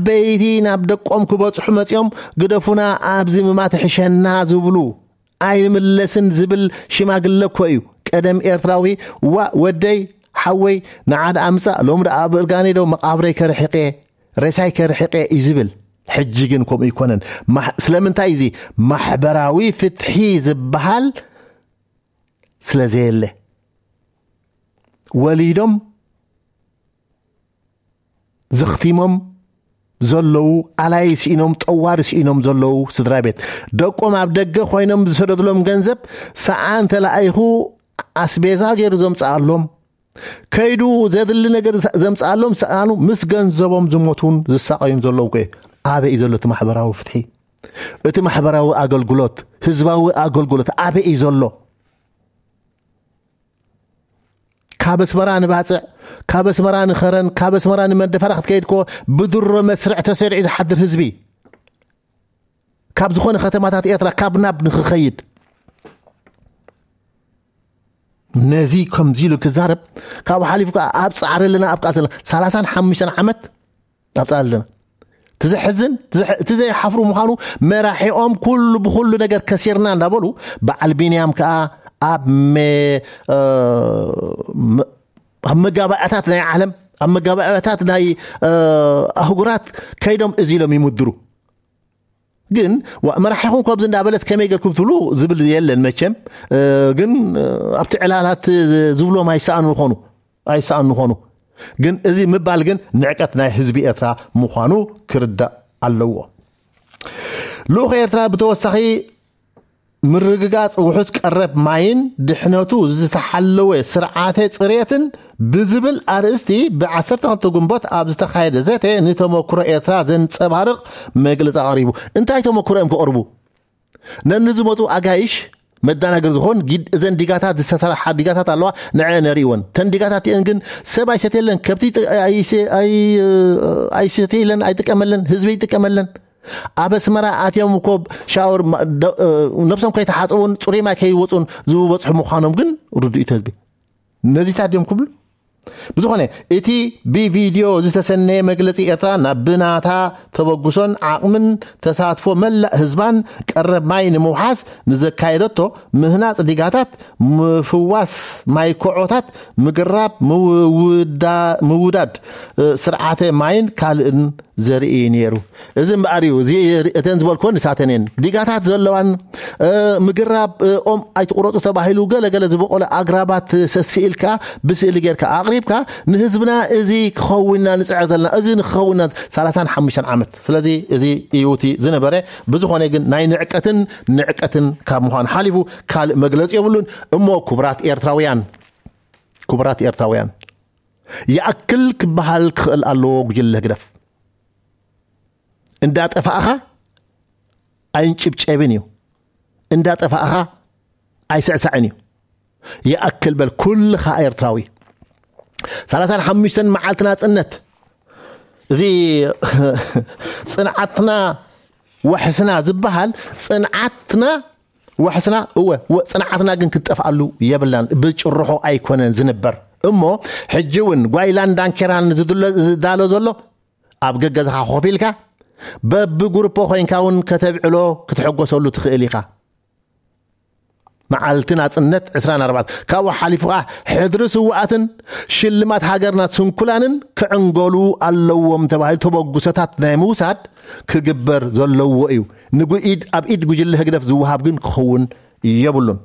በይቲ ናብ ደቆም ክበጽሑ መጺኦም፣ ግደፉና፣ ኣብዚ ምማት ሕሸና ዝብሉ፣ ኣይንምለስን ዝብል ሽማግለ እኮ እዩ። ቀደም ኤርትራዊ፣ ዋ ወደይ፣ ሓወይ፣ ንዓድ ኣምጻእ፣ ሎም ደኣ ኣብ እርጋነይ ዶ መቓብረይ ከርሕቄ፣ ሬሳይ ከርሕቄ እዩ ዝብል። ሕጂ ግን ከምኡ ይኮነን። ማሕ-፣ ስለምንታይ እዚ ማሕበራዊ ፍትሒ ዝበሃል ስለ ዘየለ፣ ወሊዶም ዘኽቲሞም ዘለዉ፣ ኣላይ ስኢኖም፣ ጠዋሪ ስኢኖም ዘለዉ ስድራ ቤት፣ ደቆም ኣብ ደገ ኮይኖም ዝሰደድሎም ገንዘብ፣ ሰኣን ተላኢኹ ኣስቤዛ ገይሩ ዘምጽኣሎም፣ ከይዱ ዘድሊ ነገር ዘ-፣ ዘምጽኣሎም፣ ሰኣኑ ምስ ገንዘቦም ዝሞቱን ዝሳቐዩን ዘለዉ እኮ እዩ። ኣበይ እዩ ዘሎ እቲ ማሕበራዊ ፍትሒ? እቲ ማሕበራዊ ኣገልግሎት፣ ህዝባዊ ኣገልግሎት ኣበይ እዩ ዘሎ? ካብ ኣስመራ ንባጽዕ፣ ካብ ኣስመራ ንኸረን፣ ካብ ኣስመራ ንመንደፈራ ክትከይድ እኮ ብድሮ መስርዕ ተሰሪዑ ዝሓድር ህዝቢ፣ ካብ ዝኾነ ከተማታት ኤርትራ ካብ ናብ ንኽኸይድ። ነዚ ከምዚ ኢሉ ክዛረብ፣ ካብኡ ሓሊፉ ከኣ ኣብ ጻዕሪ ኣለና፣ ኣብ ቃልሲ ኣለና። ሰላሳን ሓሙሽተን ዓመት ኣብ ጻዕሪ ኣለና። እቲ ዘሕዝን፣ እቲ ዘሕ-፣ እቲ ዘይሓፍሩ ምዃኑ፣ መራሒኦም ኩሉ ብኹሉ ነገር ከሲርና እንዳበሉ፣ በዓል ቢንያም ከኣ ኣብ መ-፣ እ፣ መ-፣ ኣብ መጋባእያታት ናይ ዓለም፣ ኣብ መጋባእያታት ናይ፣ እ፣ ኣህጉራት ከይዶም እዚ ኢሎም ይምድሩ። ግን ዋ-፣ መራሒኹም ከምዚ እንዳበለት ከመይ ገርኩም ትብሉ ዝብል የለን መቸም። እ፣ ግን፣ እ፣ ኣብቲ ዕላላት ዝብሎም ኣይሰኣኑ ይኾኑ፣ ኣይሰኣኑ ይኾኑ። ግን እዚ ምባል ግን ንዕቀት ናይ ህዝቢ ኤርትራ ምዃኑ ክርዳእ ኣለዎ። ልኡኽ ኤርትራ ብተወሳኺ ምርግጋጽ ውሑስ ቀረብ ማይን ድሕነቱ ዝተሓለወ ስርዓተ ጽሬትን ብዝብል ኣርእስቲ ብ ዓሰርተ ክልተ ግንቦት ኣብ ዝተኻየደ ዘተ ንተመክሮ ኤርትራ ዘንጸባርቕ መግለጺ ኣቕሪቡ። እንታይ ተመክሮ እዮም ከቕርቡ? ነንዝመጹ ኣጋይሽ መዳናገር ዝኾን ጊድ-፣ እዘን ዲጋታት ዝተሰርሓ ዲጋታት ኣለዋ፣ ንዐ ነርእወን። ተን ዲጋታት እየን ግን ሰብ ኣይሰትየለን፣ ከብቲ ጥ-፣ ኣይሰ-፣ ኣይ-፣ ኣይሰትየለን፣ ኣይጥቀመለን፣ ህዝቢ ይጥቀመለን። ኣብ ኣስመራ ኣትዮም እኮ ሻወር ማ-፣ ደ-፣ ነብሶም ከይተሓጸቡን ጽሩይ ማይ ከይወጹን ዝበጽሑ ምዃኖም ግን ርዱእ እዩ ህዝቢ። ነዚታት ድዮም ክብሉ? ብዝኾነ፣ እቲ ብቪድዮ ዝተሰነየ መግለጺ ኤርትራ ናብ ብናታ ተበግሶን ዓቕምን ተሳትፎ መላእ ህዝባን ቀረብ ማይ ንምውሓስ ንዘካየደቶ ምህናጽ ዲጋታት፣ ምፍዋስ ማይ ኮዖታት፣ ምግራብ፣ ምውዳ-፣ ምውዳድ፣ እ፣ ስርዓተ ማይን ካልእን ዘርኢ ነይሩ። እዚ እምበኣር እዩ፣ እዚ እተን ዝበልክወን ንሳተን እየን። ዲጋታት ዘለዋን፣ እ፣ ምግራብ፣ እ፣ ኦም ኣይትቑረጹ ተባሂሉ ገለ ገለ ዝበቆለ ኣግራባት ሰስኢልካ ብስእሊ ጌርካ ኣቕሪብካ ንህዝብና እዚ ክኸውንና ንጽዕር ዘለና፣ እዚ ንክኸውንና ሰላሳን ሓሙሽተን ዓመት። ስለዚ እዚ እዩ እቲ ዝነበረ። ብዝኾነ ግን ናይ ንዕቀትን ንዕቀትን ካብ ምዃን ሓሊፉ ካልእ መግለጺ የብሉን። እሞ ክቡራት ኤርትራውያን፣ ክቡራት ኤርትራውያን፣ ይኣክል ክበሃል ክኽእል ኣለዎ ጉጅለ ህግደፍ። እንዳጠፋእኻ ኣይንጭብጨብን እዩ። እንዳጠፋእኻ ኣይስዕሳዕን እዩ። ይኣክል በል ኩልኻ ኤርትራዊ። ሰላሳን ሓሙሽተን መዓልቲ ናጽነት። እዚ ጽንዓትና ወሕስና ዝበሃል ጽንዓትና ወሕስና እወ፣ ወ-፣ ጽንዓትና ግን ክትጠፍኣሉ የብላን። ብጭርሖ ኣይኮነን ዝንበር። እሞ ሕጂ እውን ጓይላን ዳንኬራን ዝድሎ-፣ ዝዳሎ ዘሎ ኣብ ገገዝኻ ኮፍ ኢልካ በብጉርፖ ኮይንካ እውን ከተብዕሎ ክትሕጎሰሉ ትኽእል ኢኻ። መዓልቲ ናጽነት ዕስራን ኣርባዕተን ካብኡ ሓሊፉ ከኣ ሕድሪ ስውኣትን ሽልማት ሃገርና ስንኩላንን ክዕንገሉ ኣለዎም ተባሂሉ ተበግሶታት ናይ ምውሳድ ክግበር ዘለዎ እዩ። ንጉ-፣ ኢድ፣ ኣብ ኢድ ጉጅለ ህግደፍ ዝወሃብ ግን ክኸውን የብሉን።